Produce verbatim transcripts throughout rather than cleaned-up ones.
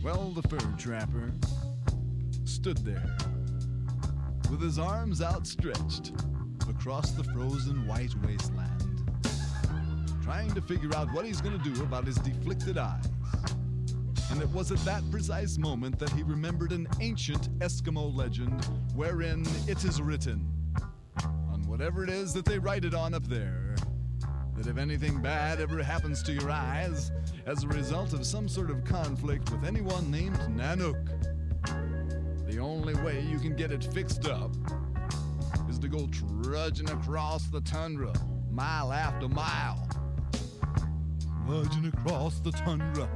Well, the fur trapper stood there with his arms outstretched across the frozen white wasteland, trying to figure out what he's going to do about his deflicted eyes. And it was at that precise moment that he remembered an ancient Eskimo legend wherein it is written, on whatever it is that they write it on up there, that if anything bad ever happens to your eyes as a result of some sort of conflict with anyone named Nanook, the only way you can get it fixed up is to go trudging across the tundra, mile after mile. Trudging across the tundra,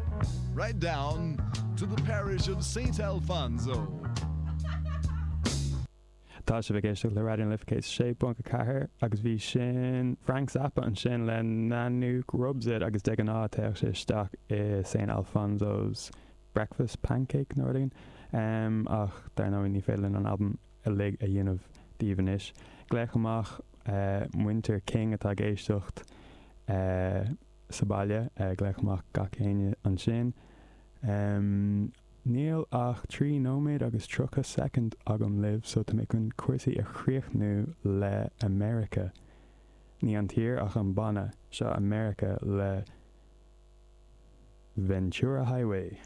right down to the parish of Saint Alfonso. Tá sibh ag éisteacht le Raidió na Life céad sé ponc a ceathair agus bhí sin Frank Zappa ansin le Nanook Rubs It agus de ghnáth téadh sé isteach i Saint Alfonso's Breakfast Pancake nó rud éigin. Um, ach dar ndóigh ní féidir linn an albam uilig a dhéanamh daoibh anois. Glaoch amach uh, muintir King atá ag éisteacht uh, sa bhaile, uh, glaoch amach gach éinne ansin. Um, Níl ach trí nóiméad agus tríocha soicind agam libh, so tá mé chun cúrsaí a chríochnú le America. Ní an tír ach an banna seo America le Ventura Highway.